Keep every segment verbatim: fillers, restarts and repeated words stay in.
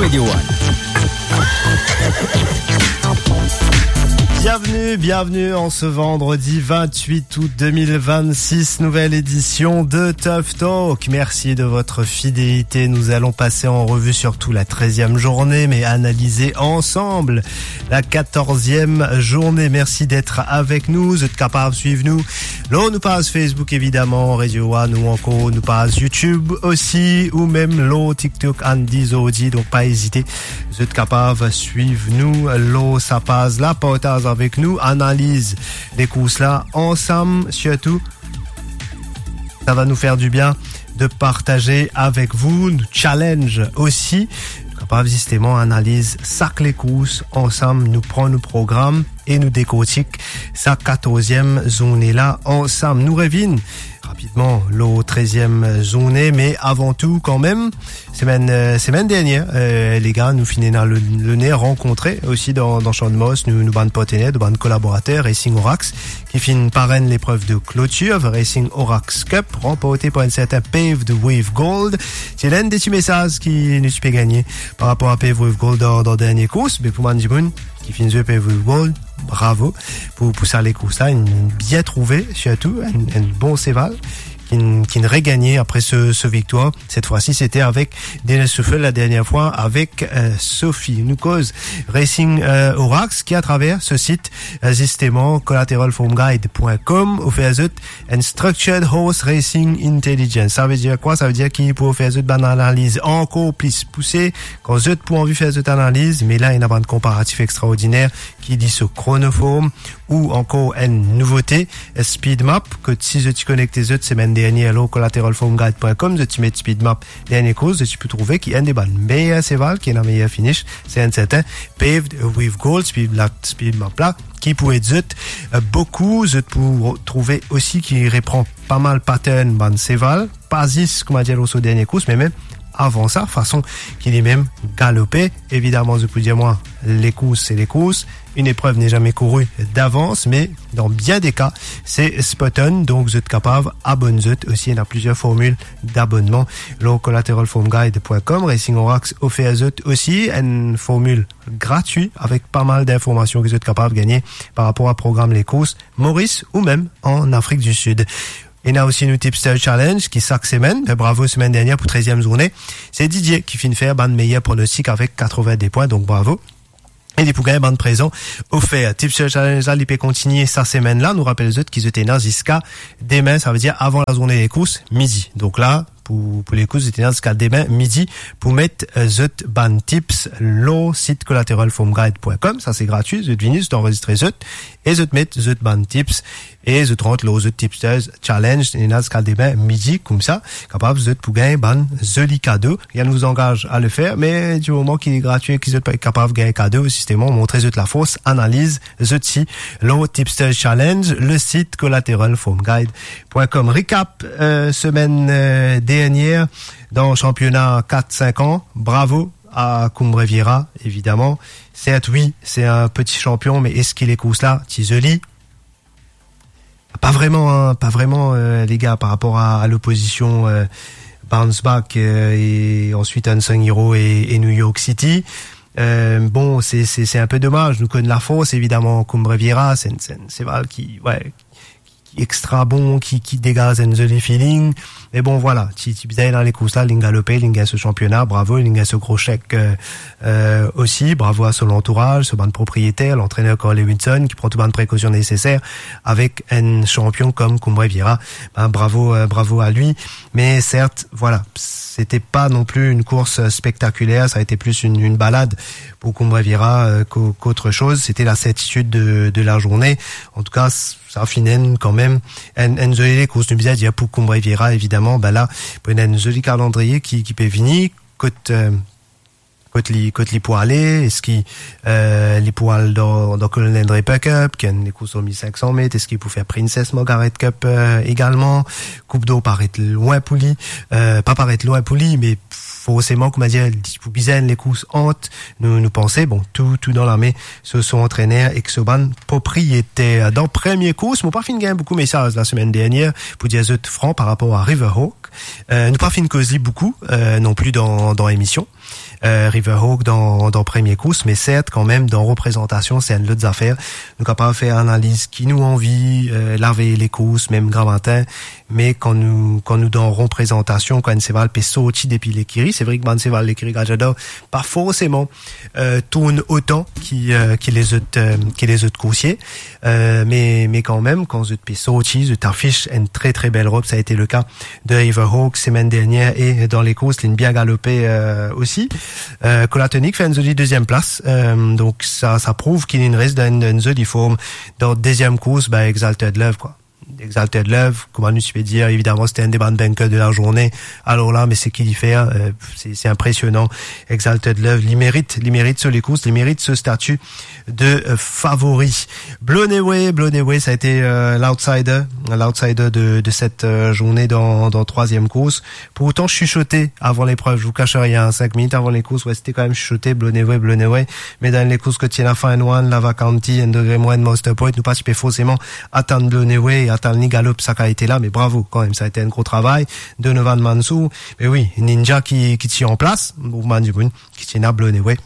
Radio One. Bienvenue, bienvenue en ce vendredi vingt-huit août deux mille vingt-six, nouvelle édition de Tough Talk. Merci de votre fidélité. Nous allons passer en revue surtout la treizième journée, mais analyser ensemble la quatorzième journée. Merci d'être avec nous. Zot kapav swiv nou lor nou paz Facebook, évidemment, Radio One, ou ankor nou paz YouTube aussi, ou mem lor TikTok, Andy Zordi. Donc, pa ezite, zot kapav swiv nou lor sa paz la, partaz avek nou, analiz lekours la ansam, sirtou. Ça va nous faire du bien de partager avec vous, nou challenge aussi. Nou kapav zisteman analiz sak lekours ansam, nou pran nou program e nou dekortik sa katorzième zourne la ansam. Nou revinn rapidman lor treizième zourne, me avan tou kanmem, semenn, euh, semenn dernier, euh, les gars, nou finn ena le, loner rankontre osi dan, dan Champ de Mars, nou, nou bann partener, nou bann kolaborater, Racing Orax, ki finn parenn leprev de klotir, Racing Orax Cup, ranporte par enn serten Paved with Gold. Ti ena enn de ti mesaz ki nou ti pe gagne par rapor a Paved with Gold dan, dan dernie kours, me pou bann dimoun ki finn zwe Paved with Gold, bravo pou, pou sa lekours la, inn bien trouve, sirtou enn, enn bon seval ki, ki regagne apre se, se viktwar. Cette fois-ci, c'était avec Dennis Souffel, la dernière fois avec, euh, Sophie. Nou koz Racing, euh, Orax, ki atraver se sit, euh, zisteman, collateral foam guide point com, ofer zot enn Structured Horse Racing Intelligence. Sa ve dir kwa? Sa ve dir ki pou ofer zot bann analiz ankor plis pouse. Kan zot pou anvi fer zot analiz, me la, ena bann konparatif extraordiner ki li so Chronoform, ou ankor enn nouvote, Speed Map, kot si zot ti konekte zot semenn dernier lor collateral foam guide point com, zot ti met Speed Map dernie kours, zot ti pou trouve ki enn de bann meyer seval, ki ena meyer finish, se enn serten Paved with Gold, Speed la, Speed Map la, ki pou ed zot, euh, boukou. Zot pou trouve osi ki repran pa mal pattern bann seval, pa zis, kouma dir, lor so dernie kours, me mem avan sa, fason ki limem galope. Evidaman, zot pou dir mwa, lekours se lekours, une épreuve n'est jamais courue d'avance, me dan bien de ka, se spot on, donk zot kapav abonn zot osi, ena plizier formil dabonnman lor collateral foam guide point com. Racing Orax ofer zot osi enn formil gratwi avek pa mal dinformasion ki zot kapav gagne par rapor a program lekours Moris ou mem an Afrik di Sid. Ena osi nou Tipster Challenge ki sak semenn, me bravo, semenn dernier pou treizième zourne, se Didier ki finn fer bann meyer pronostik avek katrevin-de pwin, donk bravo. E li pou gagn bann prezan ofer. Tipster Challenge la, li pe kontigne sa semenn la. Nou rapel zot ki zot ena ziska demin, sa ve dir avan lazourne lekours, midi. Donk la, pou, pou lekours, zot ena ziska demin midi pou met, euh, zot bann tips lor sit collateral foam guide point com. Sa se gratwi, zot vini, zot anrezistre zot, e zot met zot bann tips, e zot rant lor zot Tipsters Challenge, ena ziska demin midi, koumsa, kapav zot pou gagn bann zoli kado. Rien ne vous engage à le faire, me di moman ki li gratwi, ki zot pe kapav gagn kado, zisteman, montre zot lafors, analiz zot si lor Tipsters Challenge, le sit collateral foam guide point com. Recap, euh, semenn, euh, dernier dan sanpiona kat sink an. Bravo a Cumbre Vieja, evidaman. Sert, wi, se enn peti sanpion, me eski lekours la ti zoli? Pa vreman, hein, pa vreman, euh, les gars, par rapor a, a lopozision, euh, Bounce Back, euh, e answit Unsung Hero e, e New York City. Euh, bon, se, se, se enn pe domaz. Nou konn lafors, evidaman, Cumbre Vieja, se enn, se enn seval ki, wi, ki extra bon, ki, ki degaz enn zoli feeling. Me bon, vwala, ti, ti bizin ena lekours la, linn galope, linn gagn so sanpiona, bravo, linn gagn so gro sek, euh, euh, osi, bravo a so lantouraz, so bann propriyeter, lantrener Carl Lewinson, ki pran tou bann prekosion neseser avek enn sanpion kom Cumbre Vieja. Ben, bravo, euh, bravo a li. Me sert, vwala, c'était pas non plus une course spectaculaire, ça a été plus une, une balade pour Cumbre Vieja, euh, qu'au-, qu'autre chose. C'était la certitude de, de la journée. En tout cas, sa finn enn kanmem enn, enn zoli lekours. Nou bizin dir pou Cumbre Vieja, evidaman, ben la, pou ena enn zoli kalandriye ki, ki pe vini, kot, euh, kot li, kot li pou ale, eski, euh, li pou al dan, dan Colonel Draper Cup, ki enn lekours lor mil sink san met, eski pou fer Princess Margaret Cup, euh, egalman? Coupe d'Or paret lwin pou li, euh, pa paret lwin pou li, me forseman, kouma dir, li pou bizin enn lekours ant, nou, nou panse, bon, tou, tou dan lame so, so antrener ek so bann propriyeter. Dan premie kours, mo pa finn gagn boukou mesaz lasemenn dernier, pou dir zot fran, par rapor a Riverhawk. Euh, nou pa finn koz li boukou, euh, non pli dan, dan lemision. eh, Riverhawk dan, dan premie kours, me sert kanmem dan reprezantasion se enn lot zafer. Nou kapav fer analiz ki nou anvi, eh, lavey lekours, mem gramatin, me kan nou, kan nou dan reprezantasion, kan enn seval pe sorti depi lekiri, se vre ki bann seval lekiri Gajador pa forseman, eh, tourn otan ki, eh, ki lezot, eh, ki lezot koursie, eh, me, me kanmem, kan zot pe sorti, zot afis enn tre, tre bel rob. Sa ete leka de Riverhawk semenn dernier e dan lekours, linn bien galope, eh, osi. Eh, Colatonic fer enn zoli deziem plas, eh, donk sa, sa prouv ki linn res dan enn, enn zoli form. Dan deziem kours, be, Exalted Love, kwa. Exalted Love, kouma nou ti pe dir, evidaman, se ete enn de bann vainqueur de la journée. Alor la, me seki li fer, eh, se, se inpresionan. Exalted Love, li merit, li merit so lekours, li merit so stati de, eh, favori. Blown Away, Blown Away, sa ete, eh, l'outsider, l'outsider de, de set, eh, journée dan, dan trwaziem kours. Pourtan, sisote avan leprev, je vous cache rien, sink minit avan lekours, we, sete kanmem sisote, Blown Away, Blown Away. Me dan lekours kot ti ena Fine Wine, Lava County, Enn Degre Mwin, Monster Point, nou pa ti pe forseman atann Blown Away, atann li galop, sa kalite la, me bravo kanmem, sa ete enn gro travay. Donovan Mansour, me wi, Ninja ki, ki ti an plas, pou bann dimoun ki ti ena Blown Away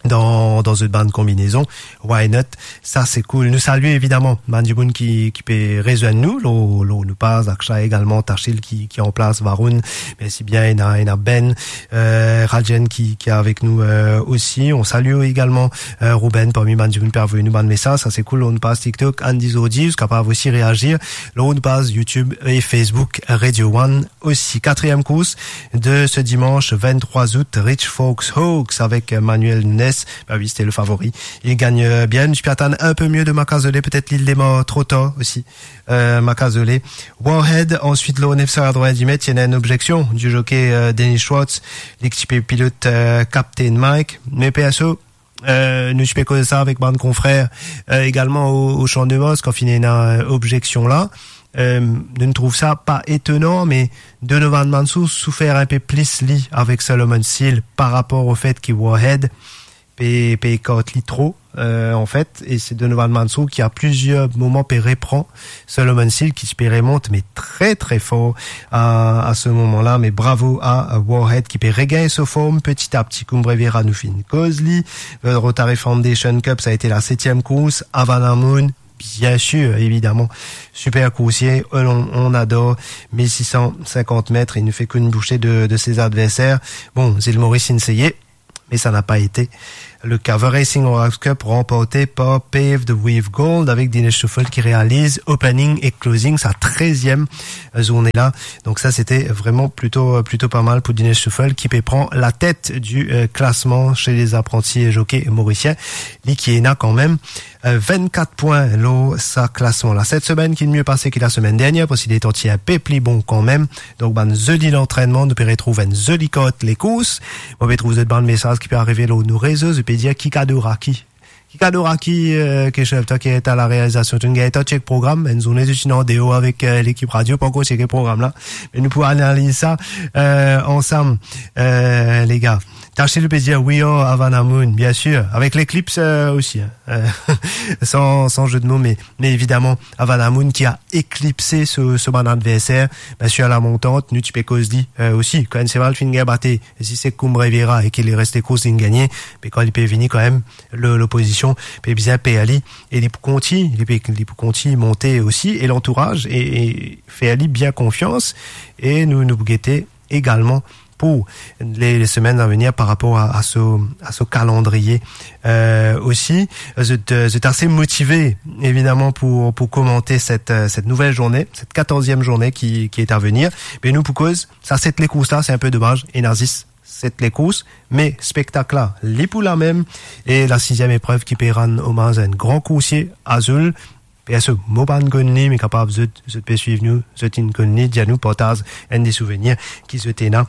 dan, dan zot bann konbinezon, why not? Sa se cool. Nou salie evidaman bann dimoun ki, ki pe rezwenn nou lor, lor nou paz, Akshay egalman, Tachil ki, ki an plas, Varun, mersi bien, ena, ena Ben, eh, Rajen ki, ki avek nou, eh, osi. On salie egalman, eh, Ruben, parmi bann dimoun pe avoy nou bann mesaz, sa se cool, lor nou paz TikTok, Andy Zordi, ou kapav osi reazir lor nou paz YouTube e Facebook Radio One. Osi, katriem kours de se dimanch venntrwa zout, Rich Forks Hawks avek Manuel Nunes. Be wi, sete le favori. Li gagn, eh, bien, nou ti pe atann enn pe mie de Macazole, petet li demar tro tar osi, eh, Macazole. Warhead, answit lor nef san katrevin-dis met, ti ena enn obzeksion di zokey, eh, Dennis Schwartz, li ki ti pe pilot, eh, Captain Mike. Me perso, eh, nou ti pe koz sa avek bann konfrer, eh, egalman o, o Champ de Mars, kan finn ena, eh, obzeksion la. Eh, nou trouv sa pa etonan, me Donovan Mansour soufer enn pe plis li avek Solomon Seal par rapor o fet ki Warhead pe, pe ekart li tro, eh, anfet, e se Donovan Mansour ki a plizier moman pe repran Solomon Seal ki ti pe remont, me tre, tre for a, a se moman la, me bravo a, a Warhead ki pe regagn so form peti a peti, kouma Brevera nou finn koz li. Eh, Rotary Foundation Cup, sa ete la setiem kours, Havana Moon, bien sir, evidaman, siper koursie, on, on ador, mil sis san sinkant met, e nou fer kourse de, de se adverser. Bon, Zil Moris inn seye, me sa napa ete le ka. The Racing Horse Cup, ranporte par Paved with Gold, avek Dinesh Souffel ki realiz opening e closing sa treziem zourne la. Donk sa, sete vreman plito, plito pa mal pou Dinesh Souffel, ki pe pran latet di, eh, klasman se lezapranti zokey morisien. Li ki ena kanmem, eh, vennkat pwin lor sa klasman la. Set semenn ki mie pase ki la semenn dernier, parski letan ti enn pe pli bon kanmem. Donk, bann zoli lantrennman, nou pe retrouv enn zoli kart lekours. Mo pe trouv zot bann mesaz ki pe arive lor nou rezo, zot pe dir, "Ki kado Raki? Ki kado Raki, eh, Keshav, twa ki ete a la realizasion, to'nn gagn tan chek program, enn zourne zot inn andeor avek, eh, lekip radio, pankor cheke program la. Me nou pou analiz sa, eh, ansam, eh, lega." Tachil pe dir, "We are Havana Moon," bien sir, avek leklips, eh, osi, hein. Eh, san, san ze de mo, me, me evidaman, Havana Moon ki a eklipse so, so bann adverser. Bien sir, a la montant, nou ti pe koz li, eh, osi. Kan enn seval finn gagn bate, si se kouma Brevera e ki li reste kours, linn gagne, me kan li pe vini kanmem, lo-, lopozision pe bizin per li, e li pou kontign, li pe, li pou kontign monte osi, e lantouraz, e, e fer li bien konfians, e nou, nou pou gete egalman pou le, le semenn a venir par rapor a, a so, a so kalandriye. Eh, osi, zot, zot ase motive, evidaman, pou, pou komante set, eh, set nouvel zourne, set katorziem zourne ki, ki ena venir. Me nou pou koz, sa set lekours la, se enn pe domaz, ena zis set lekours, me spektak la, li pou la mem, e la siziem eprev ki pe rann omaz a enn gran koursie, Azul, Perso, mo pa'nn konn li, me kapav zot, zot pe swiv nou, zot inn konn li, dir nou, partaz enn de souvenir ki zot ena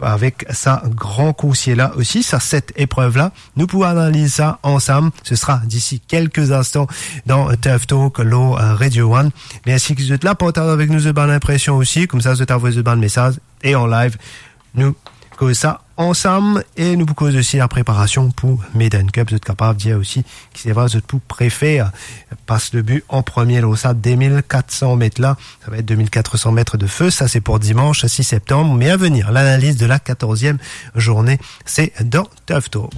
avek sa gran koursie la osi, sa set eprev la. Nou pou analiz sa ansam. Ce sera d'ici quelques instants dans Turf Talk lor, euh, Radio One. Mersi ki zot la, partaz avek nou zot bann inpresion osi, koumsa zot avoy zot bann mesaz e an live, nou koz sa ansam e nou pou koz osi lapreparasion pou Maiden Cup. Zot kapav dir osi ki se vre zot pou prefer pas le but an premie lor sa de mil kat san met la. Sa va et de mil kat san met de feu. Sa se pou dimanch sis septanm. Me a venir, lanaliz de la katorzièm zourne, se dan Tough Talk.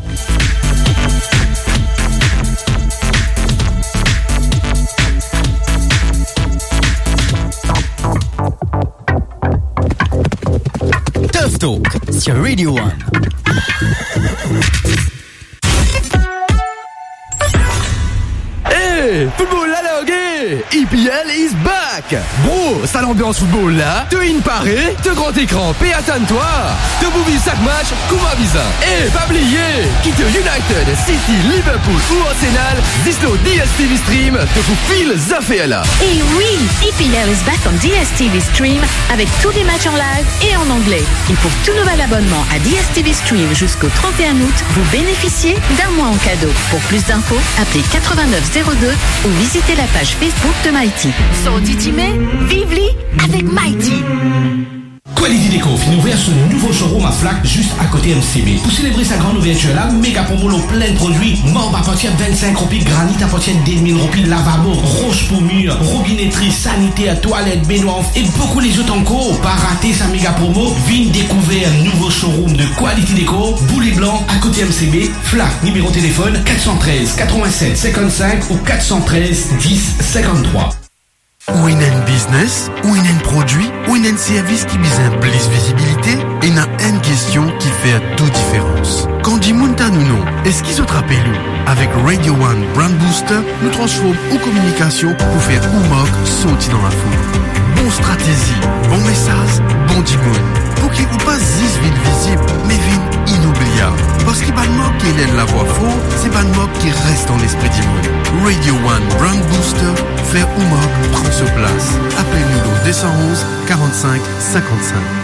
Tough Talk sur Radio One. Hey, football la large! E P L is back! Bro, sa lanbians football la, to inn pare, to gran ekran pe atann twa, to pou viv sak match kouma bizin. E pa bliye, ki to United, City, Liverpool ou Arsenal, zis lor D S T V Stream, to pou feel zafer la. E wi, E P L is back on D S T V Stream avec tous les matchs en live et en anglais. Et pour tout nouvel abonnement à D S T V Stream jusqu'au trente et un août, vous bénéficiez d'un mois en cadeau. Pour plus d'infos, appelez quatre-vingt-neuf zéro deux ou visitez la page Facebook de Mighty. Sorti ti me, viv li avec Mighty. Quality Decor finn ouver so nouvo showroom a Flacq, zis akote M C B. Pou selebre sa gran ouvertir la, mega promo lor plin prodwi, marb apartir vinn-sink roupi, granit apartir de mil roupi, lavabo, rosh pou mir, robinetri, saniter, twalet, benwar e boukou lezot ankor. Pa rate sa mega promo, vinn dekouver nouvo showroom de Quality Decor, Boule Blan, akote M C B, Flacq, nimero telefonn kat san trez, katrovin-set, sinkant-sink ou kat san trez, dis, sinkant-trwa. Ou ena enn biznes, ou ena enn prodwi, ou ena enn servis ki bizin plis vizibilite, ena enn kestion ki fer tou diferans. Kan dimoun tann ou non, eski zot rapel ou? Avek Radio One Brand Booster, nou transform ou kominikasion pou fer ou mark sorti dan lafoul. Bon stratezi, bon mesaz, bon dimoun. Pou ki ou pa zis vinn vizib, me vinn inoubliab. Parski bann mark ki ena enn lavwa for, se bann mark ki res dan lespri dimoun. Radio One Brand Booster, fer ou mark pran so plas. Apel nou lor de san onz, karant-sink, sinkant-sink.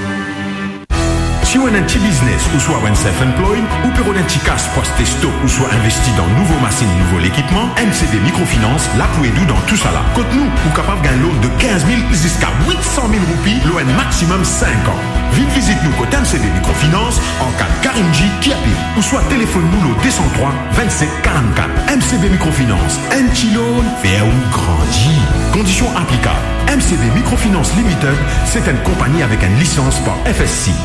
Si ou ena enn ti biznes ouswa ou enn self-employed, ou pe rod enn ti kas pou aste stok ouswa investi dan nouvo masinn, nouvo lekipman, M C B Microfinance la pou ed ou dan tousala. Kot nou, ou kapav gagn loan de kinz mil ziska wit san mil roupi lor enn maximum sink an. Vinn vizit nou kot M C B Microfinance, Arcade Karimjee, Kirpil, ouswa telefonn nou lor de san trwa, vinn-set, karant-kat. M C B Microfinance, enn ti loan, fer ou grandi. Kondision aplikab. M C B Microfinance Limited, se enn konpagni avek enn lisans par F S C.